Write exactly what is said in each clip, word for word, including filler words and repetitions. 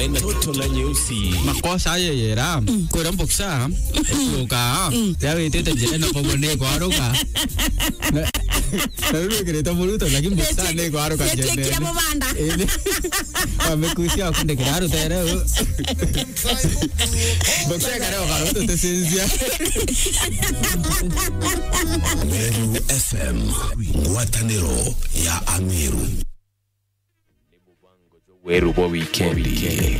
Ntoto na nyeusi. Makosa yeyera. Kwira mboksa. Kuka. Ya witite njira na pogo ni kwaruka. Na, na riu wikirite muruto, lakini mboksa ni kwaruka njene. Amekusia akundikira rutere. Mboksa kare okaruto tesinzia. Meru F M, ngwataniro ya Ameru. Weru bwa wikendi.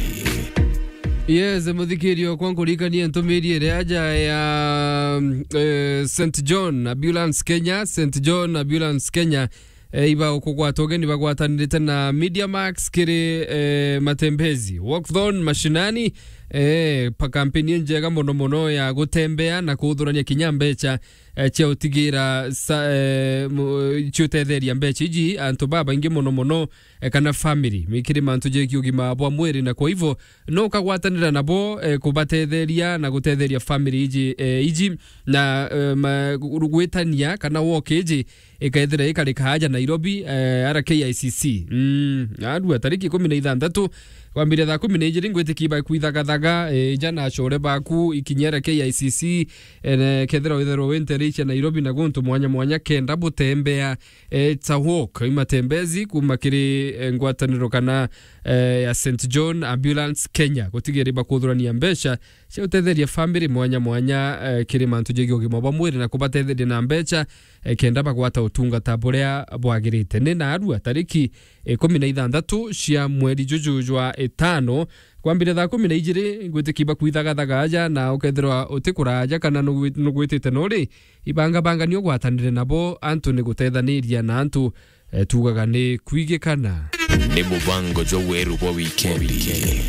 Yes, muthikirio kwa nkurikania ntumiri iria aja ya, eh, Saint John Ambulance Kenya, Saint John Ambulance Kenya, eh, iba ukugwata ugeni bagwatanirite na Media Max kiri, eh, matembezi. Walkathon mashinani, eh, pa kampeni njega mono mono ya gutembea na kuthurania kinya mbecha eh, cia utigira sa-, eh, mu-, cia utetheria mbecha iji antu babaingi mono mono, eh, kana family, mikiri mantu jegi ugima bwa mwiri, na kwa hivyo no ukagwatanira nabo, eh, kubatetheria na gutetheria family iji, eh, iji na, eh, ma-, gwitania kana walk iji ikethira ikarika aja Nairobi, eh, ara K I C C. Mm, arua tariki ikumi na ithanthatu, kwambire thaa kumi na ijiri, ngwitikia bakwithagathaga, eh, ija na acore baku ikinyere K I C C, eh, ne-, kethira witherwa wi ntere cia Nairobi na guntu mwanya mwanya, kenda butembea, eh, it's a walk, imatembezi kuma kiri, eh, ngwataniro kana, eh, ya Saint John Ambulance Kenya, gutigira bakuthurania mbecha cia utetheria family mwanya mwanya, eh, kiri mantu jegi ugima bwa mwiri na kubatetheria na mbecha, eh, kenda bagwata utungata buria bwagirite. Ni narua tariki ikumi na ithanthatu cia mweri juju jwa itano, kwambire thaa kumi na ijiri, ngwitikia bakwithagathaga aja, na ukethirwa utikuraja kana nugwi-, nugwitite nuri, ibangabangania ugwatanire nabo, antu ni gutethaniria na antu, eh, tugaga ni kwigikana. Ni mubango jwa weru bwa wikendi.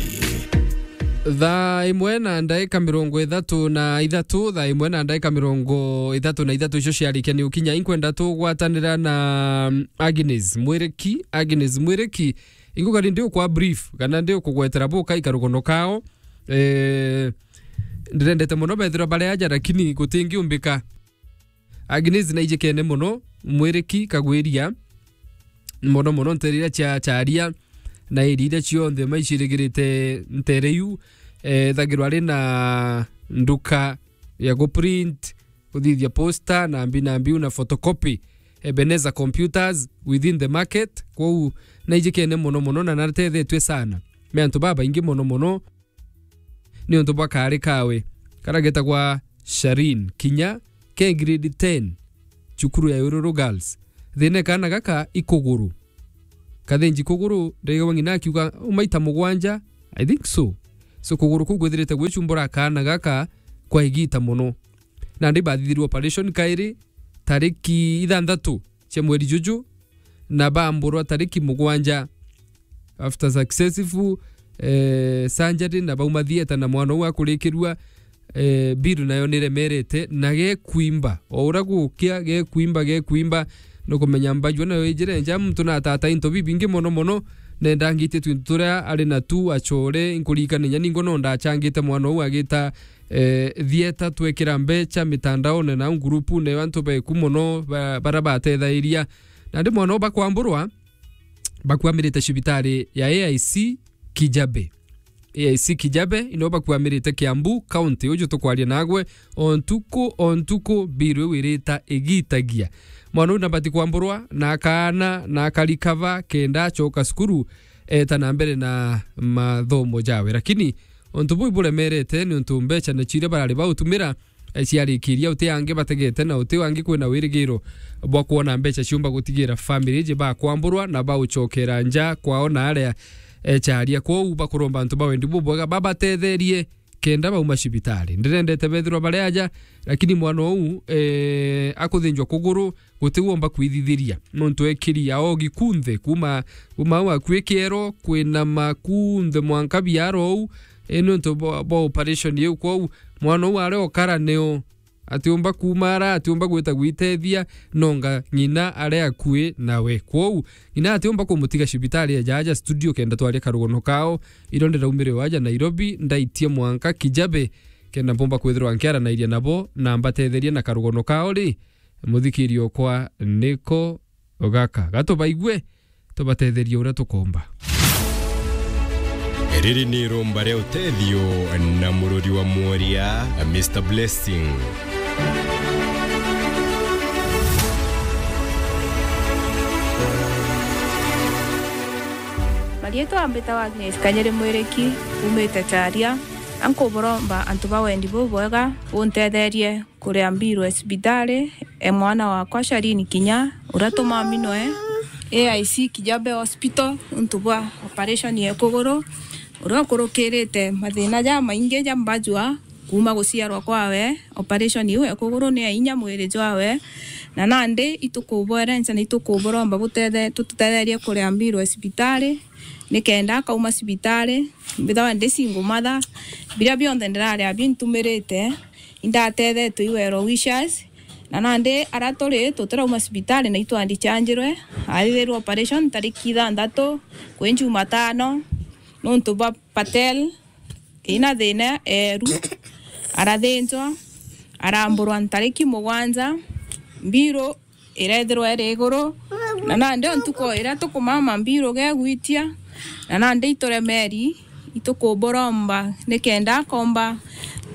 Thaa imwe na ndaika mirongo ithatu na ithatu, thaa imwe na ndaika mirongo ithatu na ithatu icio ciarikia ni ukinya, inkwenda tugwatanira na, mm, Agnes Mwiriki, Agnes Mwiriki. Inguga ni ndi ukwa brief, kana ndi ukugwetera buka ikarugono kao. Eh, ndirendete mono bethirwa bari aja, lakini gutingiumbika. Agnes naijikene mono, Mwiriki Kagwiria, mono mono ntere iria cia Charia, na iri iria cionthe maicirigirite ntere iu, eh, ethagirwa ari na nduka ya guprint, kuthithia poster, na mbi na mbiu na photocopy, Ebenezer Computers within the market. Kwou naijikene mono mono na natethetwe sana ni antu babaingi mono mono, niuntu bwa kaari kawe karia getagwa Sharin, kinya ke grade ten, cukuru ya Ururu Girls. Thina kaana gaka i kuguru. Kathinji kuguru, ndaigua ng'ina akiuga, "U maita mugwanja?" I think so. So kuguru kuu kwithirite gwicumbura kaana gaka kwa igita mono. Nandi bathithirwe operation kairi, tariki ithanthatu cia mweri juju, na bamburwa tariki mugwanja. After successful, eh, surgery, na bauma theatre na mwana uu akurikirua, eh, bill nayo niremerete, na gekwimba. O uria gukia, gekwimba, gekwimba. Nukumenya mbajua nayo ijire nja, muntu na atata into bibingi mono mono, nenda ngitie twintu turia ari na tu acore, nkuririkania ningwa no ndachangite mwana uu agita, eh, theatre, twekira mbecha mitandaone na ngurupune ya antu beku mono, ba-, baria batethairia. Nandi mwana uu bakwamburwa, bakwamirite cibitari ya A I C Kijabe. A I C Kijabe, ino bakwamirite Kiambu County, uju tukwaria nagwe, o ntuku, o ntuku, bill iu irita igitagia. Mwana uu nabati kwamburwa, na akaana, na akarikava, kenda acoka cukuru, eta na mbere na mathomo jawe. Lakini untu buu iburemerete ni untu mbecha na chiria barari bautumira, eh, ciarikiria, uti angi bategete na uti angi kwina wirigiro bwa kwona mbecha ciumba gutigira family iji bakwamburwa na bauchokera nja kwao na aria, eh, charia. Kwou bakuromba antu ba wendi bubwega babatetherie kenda bauma cibitari. Ndirendete bethirwa bari aja, lakini mwana uu, eh, akuthinjwa kuguru, guti womba kwithithiria. Nontu ekiri aogi kunthe, kuma, kuma au akui kiero, kwina makunthe mwanka biara ou, e, nontu bwa, bwa operation iu. Kwou, mwana uu aria okara nio, atiumba kuuma ara, atiumba gwita gwitethia, nonga ng'ina aria akui nawe. Kwou, ng'ina atiumba kumutiga cibitari eja aja studio kenda twaria karugono kao, iro ndiraumire o aja Nairobi, ndaitie mwanka Kijabe, kenda mpumba kwithirwa nkiaranairia nabo, na mbatetherie na karugono kao ri, muthikiri okwa niko gaka. Gatubaigue, tubatetherie uria tukomba. Riri ni irumba ria utethio na mururi wa mworia, Mister Blessing. Marietwa mbitawa Agnes Kanyiri Mwiriki, umite Charia, na nkuburomba antu ba wendi bubwega buntetherie kuria mbiru ya cibitari e mwana wakwa Shalini Kinya, uria tumaminwe A I C Kijabe Hospital nuntu bwa operation ya kuguru, uria ukurukirite mathina jamaingi ja mbajua kuuma guciarwa kwawe. Operation iu ya kuguru ni ya inya mwiri jwawe, na nandi itukubwerenca na itukuburomba butethe-, tututetherie kuria mbiru ya cibitari, nikenda akauma cibitari, mbithagwa ndi single mother, biria bionthe ndiraria bintumirite, indatethetwe i well wishers, na nandi aria turi tutirauma cibitari na itwandichanjirwe, athithirwe operation tariki ithanthatu kwi Jumatano, nuntu bwa Patel ina thina eeru, arathinjwa, aramburwa ntariki mugwanja, mbiru irethirwa iri iguru, na nandi o ntuku iria tukumama mbiru gegwitia, na nandi ituremeri, itukuburomba nikenda akomba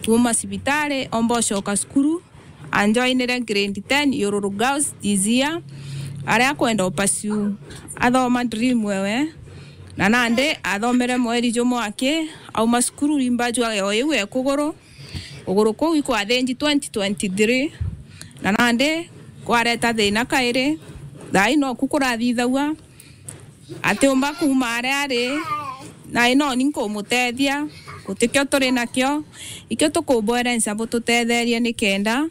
kuuma cibitari, omba ucoka cukuru, anjoinire grade ten Yururu Girls this year, aria akwenda upursue athoma dream ewe, na nandi athomere mweri jumwe aki auma cukuru, rimba jwa yo iu e kuguru, kuguru kuu ikwathinji twenty twenty-three, na nandi kwareta thina kairi, thaai noku kurathithagua, atiumba kuuma aria ari, na inoni nkumutethia, gutikio turi nakio, ikio tukubwerenca bututetherie nikenda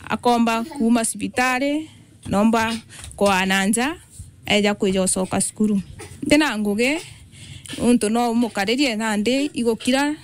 akomba kuuma cibitari, nomba kwaa na nja, eja kwija ucoka cukuru. Ntina ngugi, nuntu no umukaririe nandi igukira,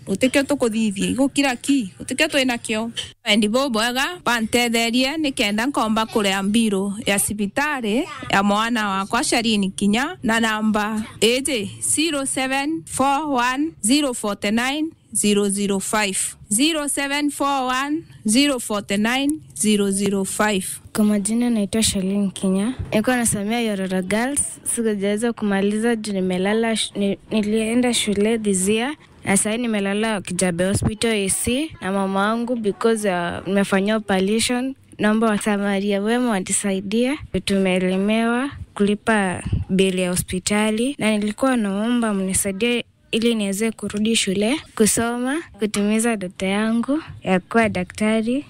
gutikio tukuthithia, igukira ki, gutikio twi nakio. Wendi bubwega, bantetherie nikenda nkomba kuria mbiru ya cibitari ya mwana wakwa Shalini Kinya, na namba iji, zero seven four one zero forty nine zero zero five, zero seven four one zero forty nine zero zero five. Kwa majina naitwa Shalin Kinya. Nilikuwa nasomea Yororo Girls. Sikujaweza kumaliza juu nimelala sh-, ni-, nilienda shule this year. Na sahii nimelala Kijabe Hospital A C na mama wangu because, uh, nimefanyiwa operation. Naomba wasamaria wema watusaidie. Tumelemewa kulipa bili ya hospitali. Na nilikuwa naomba mnisaidie ili niweze kurudi shule, kusoma, kutimiza ndoto yangu ya kuwa daktari.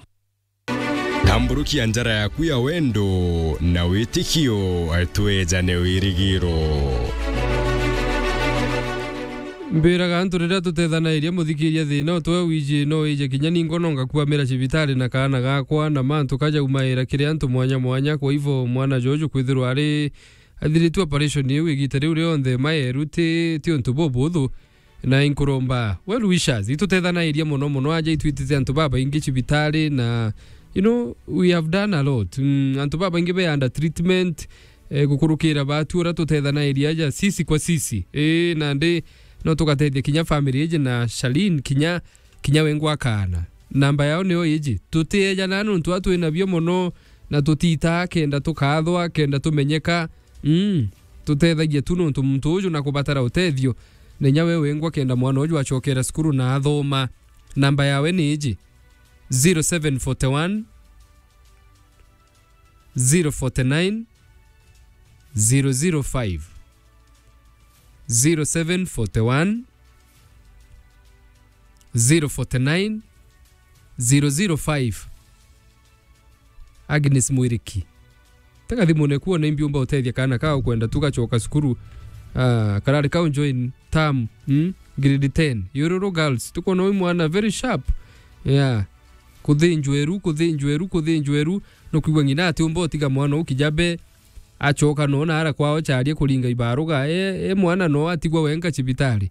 Tamburukia njara yaku ya wendo na witikio, twejane wirigiro. Mbiraga antu riria tutethanairia, muthikiria, thina utwe wiji no wije kinya ningo no ngakuamira cibitari na kaana gakwa, na mantu kajaumaira kiri antu mwanya mwanya. Kwa hivyo mwana juju kwithirwa ari athiritue operation iu igita riu rionthe, maeru ti, ti untu bubuthu. Na inkuromba well wishers, itutethanairia mono mono aja itwitite antu babaingi cibitari, na, you know, we have done a lot. Mm, antu babaingi be under treatment, eh, gukurukira batu uria tutethanairia aja sisi kwa sisi. Eh, nandi no tugatethia kinya family iji na Shalin kinya, kinya wengwa akaana. Namba yao niyo iji. Tutiejana nuntu a twinabio mono, na tutitaa kenda tukathwa, kenda tumenyeka. Mm, tutethagia tu nuntu muntu uju na kubatara utethio, na inya we wengwa kenda mwana uju acokera cukuru na athoma. Namba yawe ni iji, zero seven forty one, zero forty nine, zero zero five. Zero seven forty one, zero forty nine, zero zero five. Agnes Mwiriki. Tega thimu neku one imbi umba utethia kana ka ukwenda tu gacoka cukuru. Ah, karari kau join term, mm? Grade ten. Yururu Girls. Tukwona uyu mwana very sharp. Yeah. Kuthinjwa eru, kuthinjwa eru, kuthinjwa eru. Nukwigua ng'ina ati umba utiga mwana u Kijabe. Acoka no na ara kwao Charia kuringa ibaruga. E, e mwana no atigwa wenka cibitari.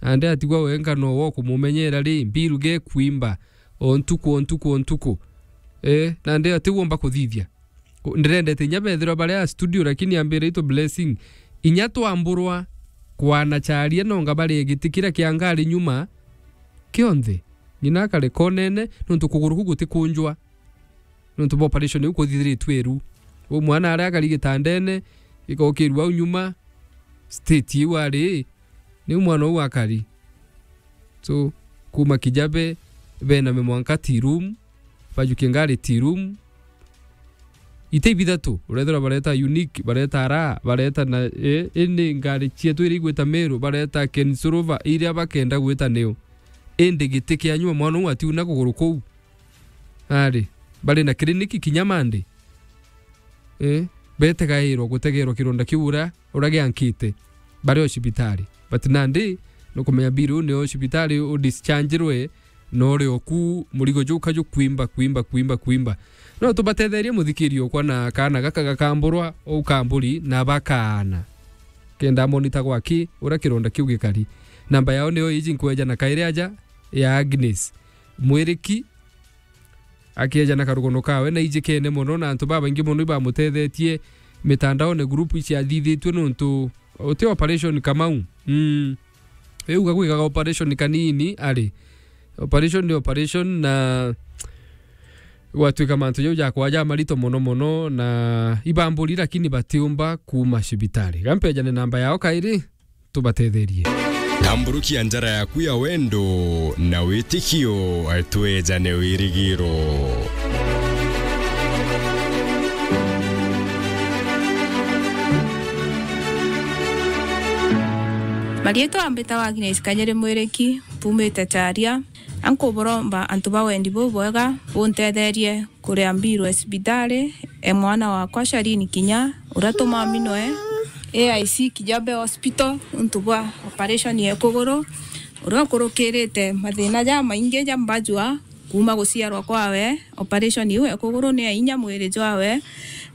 Nandi atigwa wenka no wo kumumenyera ri, mbiru ge kwimba. O ntuku, o ntuku, o ntuku. Eh, nandi ati womba kuthithia. Ku-, ndirendete inya bethirwa baria studio, lakini ambire itu Blessing. Inya twamburwa kwana Charia no ngabare giti kiria kia ngari nyuma kionthe. Ng'ina akare konene, nontu kuguru ku gutikunjwa. Nontu bwa operation iu kuthithiritwe iru. U mwana aria akari gitandene, ikokirua au nyuma, state iu ari, Niu mwana uu akari. So, kuma Kijabe, bename mwanka tea room, bajukie ngari tea room. Ite ibithatu, urethirwa bareta Unique, bareta Ara, bareta na, eh, indi ngari cietu iria igwita Meru, bareta Ken Silver, iria bakenda gwita niu. Indi giti kia nyuma mwana uu atiuna kuguru kuu. Ari, bari na clinic kinya Monday. Eh, betegairwa gutegerwa kironda kiu uria, uria giankite. Bari o cibitari. But nandi, nukumenya Bill uu ni o cibitari u dischargerwe, na uri o ku murigo juka jukwimba, kwimba, kwimba, kwimba. No tubatetherie muthikiri okwa na kaana gaka gakamburwa, ukamburi na bakaana. Kenda monita gwaki, uria kironda kiu gikari. Namba yao niyo iji nkweja na kairi aja ya Agnes. Mwiriki, akieja na karugono kawe na ijikene mono, na antu babaingi mono ibamutethetie mitandaone, group iciathithitue nontu uti operation Kamau. Mm. Riu gagwigaga operation kanini, ari. Operation ni operation, na gwatwika mantu jau jakwa ja marito mono mono, na ibamburi, lakini batiumba kuma cibitari. Gampejane namba yao kairi, tubatetherie. Tamburukia njara yaku ya wendo na witikio, twejane wirigiro. Marietwa mbitawa Agnes Kanyere Mwiriki, mpumite Charia, na nkuburomba antu ba wendi bubwega buntetherie kuria mbiru ya cibitari e mwana wakwa Shalini Kinya, uria tumaminwe A I C Kijabe Hospital nontu bwa operation ya kuguru, uria ukurukirite mathina jamaingi ja mbajua kuma guciarwa kwawe. Operation iu ya kuguru ni ya inya mwiri jwawe,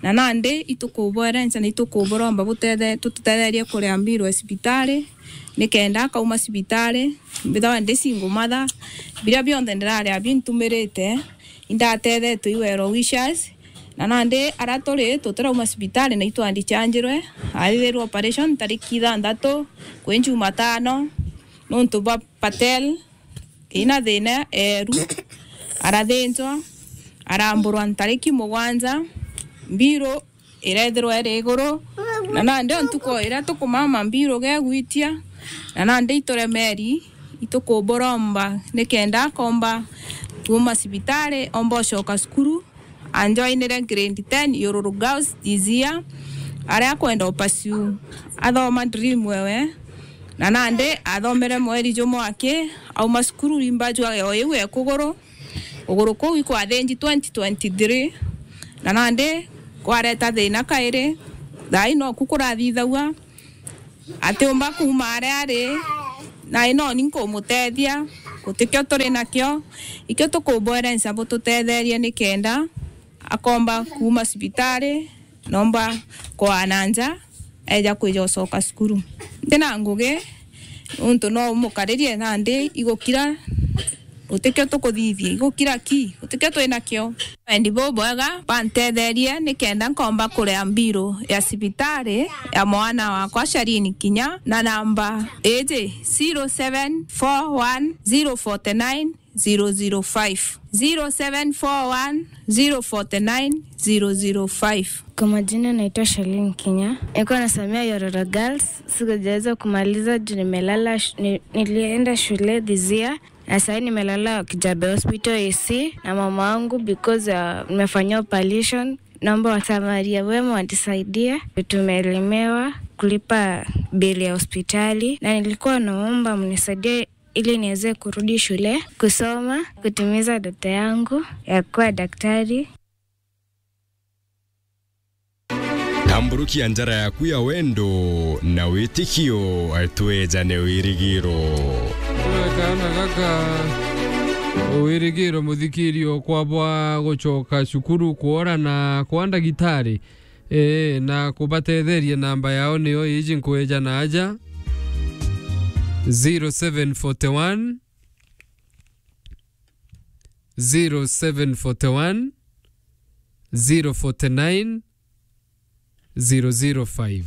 na nandi itukubwerenca na itukuburomba butethe-, tututetherie kuria mbiru ya cibitari, nikenda akauma cibitari, mbithagwa ndi single mother, biria bionthe ndiraria bintumirite, indatethetwe i well wishers, na nandi aria turi tutirauma cibitari na itwandichanjirwe, athithirwe operation tariki ithanthatu kwi Jumatano, nontu bwa Patel ina thina eeru, arathinjwa, aramburwa ntariki mugwanja, mbiru irethirwa iri iguru, na nandi o ntuku iria tukumama mbiru gegwitia, na nandi ituremeri, itukuburomba nikenda akomba kuuma cibitari, omba ucoka cukuru, anjoinire grade ten Yururu Girls this year, aria akwenda upaciu athoma dream wewe, na nandi athomere mweri jumwe aki auma cukuru, rimba jwa yo iu e kuguru, kuguru kuu ikwathinji twenty twenty-three, na nandi kwareta thina kairi, thaai noku kurathithagua, atiumba kuuma aria ari, na inoni nkumutethia, gutikio turi nakio, ikio tukubwerenca bututetherie nikenda akomba kuuma cibitari, nomba kwaa na nja, eja kwija ucoka cukuru. Ntina ngugi, nontu no umukaririe nandi igukira, gutikio tukuthithia, igukira ki, gutikio twinakio. Wendi bubwega, bantetherie nikenda nkomba kuria mbiru ya cibitari ya mwana wakwa Shalini Kinya, na namba iji, zero seven four one zero forty nine zero zero five, zero seven four one zero forty nine zero zero five. Kwa majina naitwa Shalin Kinya. Nilikuwa nasomea Yororo Girls. Sikujaweza kumaliza juu nimelala sh-, ni-, nilienda shule this year. Na sasa nimelala Kijabe Hospital A C na mama wangu because, uh, nimefanyia operation. Naomba wasamaria wema wanisaidie. Tumelemewa kulipa bili ya hospitali. Na nilikuwa naomba mnisaidie ili niweze kurudi shule, kusoma, kutimiza ndoto yangu ya kuwa daktari. Tamburukia njara yaku ya wendo na witikio, twejane wirigiro. Kaana gaka, wirigiro muthikirio kwabwa gucoka cukuru kwora na kwa ndagitari. Ee, na kubatetheria namba yao niyo iji nkweja na aja, zero seven forty one, zero seven forty one, zero forty nine, zero zero five.